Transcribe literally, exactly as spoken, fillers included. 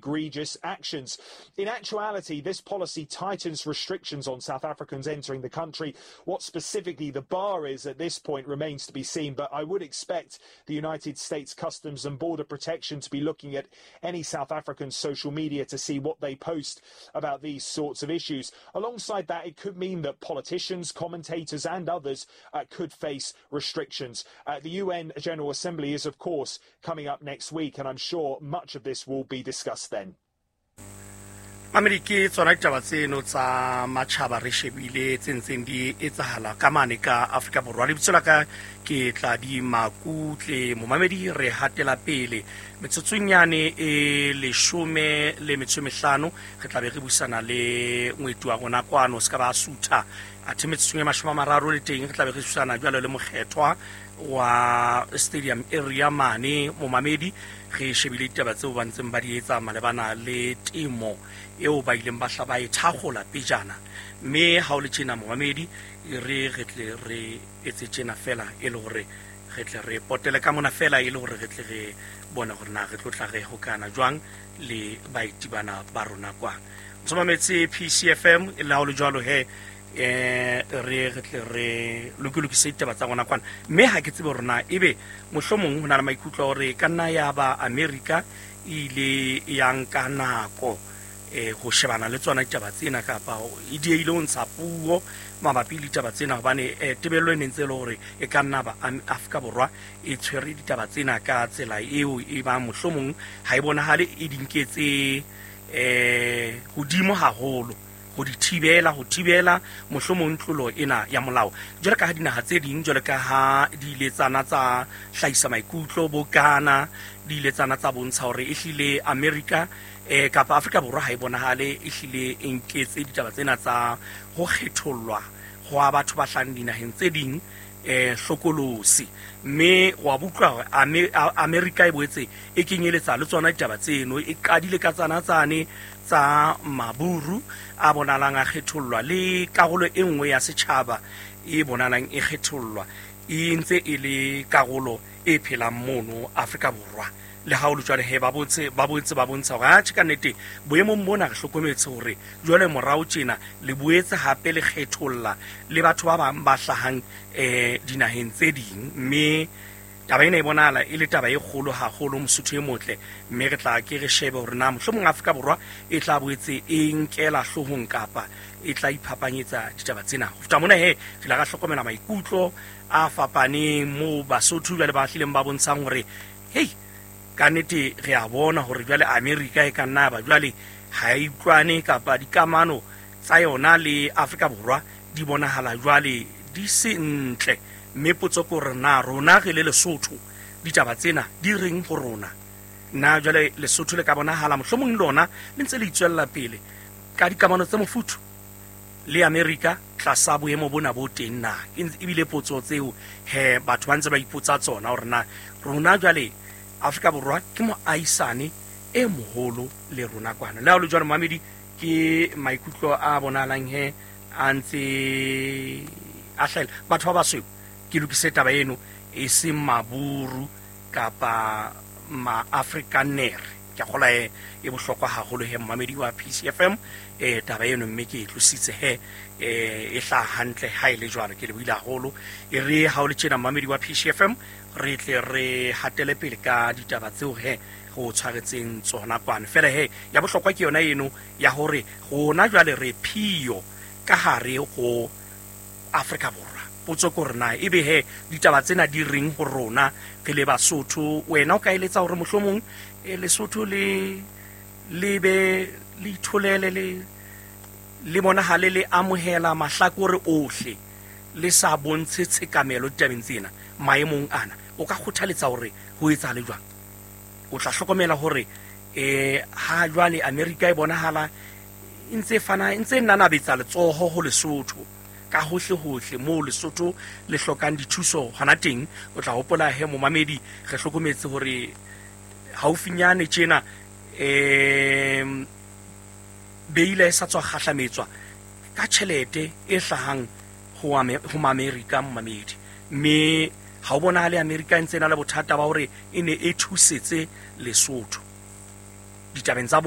egregious actions. In actuality, this policy tightens restrictions on South Africans entering the country. What specifically the bar is at this point remains to be seen, but I would expect the United States Customs and Border Protection to be looking at any South African social media to see what they post about these sorts of issues. Alongside that, it could mean that politicians, commentators and others uh, could face restrictions. Uh, the U N General Assembly is, of course, coming up next week, and I'm sure much of this will be discussed then. Mamedi, ke tsona ditaba tseno tsa matjhaba re shebile tse ntseng di etsahala ka mane ka Afrika Borwa. Lebitso la ka ke Tladi Makutle. Momamedi, re hatela pele metsotsong yane e leshome le metso e mehlano re tla be re buisana le ngweti wa rona kwano se ka ba sutha athe metsotsong e mashome a mararo le teng re tla be re buisana jwalo le mokgethwa wa stadium area mane. Momamedi, re shebile ditaba tseo ba ntseng ba di etsa malebana le temo eo ba ileng ba hla ba e thakgola pejana, mme ha o le tjena momamedi re re tle re etse tjena fela e le hore re tle re potele ka mona fela e le hore re tle re bone hore na re tlo tla re hokana jwang le baeti bana ba rona kwang. Ntshomametse P C F M le ha o le jwalo he eh re re tle re lokilokise ditaba tsa rona kwana, mme ha ke tsebe hore na ebe mohlomong ho na le maikutlo a hore ka nna ya ba America e ile ya nka nako eh ho shebana le tsona ditaba tsena kapa e diehile ho ntsha puo mabapi le ditaba tsena, hobane tebello e ne ntse e le hore e ka nna ba Afrika Borwa e tshwere ditaba tsena ka tsela eo e ba mohlomong ha e bonahale e di nketse eh hodimo haholo ho di thibela ho thibela mohlomong tlolo ena ya molao. Jwalo ka ha dinaha tse ding, jwalo ka ha di ile tsana tsa hlahisa maikutlo bo Ghana, di ile tsana tsa bontsha hore ehlile America eh kapa Afrika Borwa ha e bonahale ehlile e nketse ditaba tsena tsa ho kgethollwa hwa batho ba hlahang dinaheng tse ding eh hlokolosi, mme wa butlwa hore America e boetse e kenyeletsa le tsona ditaba tseno, e qadile ka tsana tsane tsa maburu a bonalang a kgethollwa le karolo e nngwe ya setjhaba e bonalang e kgethollwa e ntse e le karolo e phelang mono Afrika Borwa. Le ha o le jwale he ba botse ba botse ba bontsha hore atjhe ka nnete boemong bona re hlokometse hore jwale morao tjena le boetse hape le kgetholla le batho ba bang ba hlahang eh dinaheng tse ding, mme taba ena e bonahala e le taba e kgolo haholo Mosotho e motle, mme re tla ke re shebe hore na mohlomong Afrika Borwa e tla boetse e nkela hloohong kapa e tla iphapanyetsa ditaba tsena. Ho feta mona he re la ra hlokomela maikutlo a fapaneng moo Basotho jwale ba hlileng ba bontshang hore hei ka nnete re a bona hore jwale America e ka nna ba jwale ha e utlwane kapa dikamano tsa yona le Afrika Borwa di bonahala jwale di se ntle, mme potso ke hore na rona re le Lesotho ditaba tsena di reng ho rona. Na jwale Lesotho le ka bonahala mohlomong lona le ntse le itswella pele ka dikamano tse mofuthu le America tlasa boemo bona bo teng na? Ebile potso tseo he batho ba ntse ba ipotsa tsona hore na rona jwale Afrika Borwa ke moahisane e moholo le rona kwana. Le ha o le jwalo mamedi, ke maikutlo a bonahalang he a ntse a hlahela batho ba basweu. Ke lokise taba eno e seng maburu kapa ma-Afrikaner. Ke a kgolwa he e bohlokwa haholo he mmamedi wa P C F M eh taba eno, mme ke e tlositse he eh e hlaha hantle ha e le jwalo. Ke lebohile haholo. E re ha o le tjena mmamedi wa P C F M re tle re hatele pele ka ditaba tseo he go tshwaretseng tsona kwano. Fela he ya bohlokwa ke yona eno ya hore rona jwale re phio ka hare ho Afrika Borwa. Potso ke hore na ebe he ditaba tsena di reng ho rona re le Basotho. Wena o ka eletsa hore mohlomong Lesotho le le be le itholele le le bonahale le amohela mahlakore ohle le sa bontshe tshekamelo ditabeng tsena maemong ana. O ka kgothaletsa hore ho etsahale jwang? O tla hlokomela hore eh ha jwale America e bonahala e ntse fana e ntse nanabetsa letsoho ho Lesotho ka hohle hohle moo Lesotho le hlokang dithuso hona teng. O tla hopola he momamedi re hlokometse hore haufinyane tjena eh beile e sa tswa kgahlametswa ka tjhelete e hlahang ho ho America momamedi, mme ha o bonahale America e ntse na le bothata ba hore e ne e thusetse Lesotho ditabeng tsa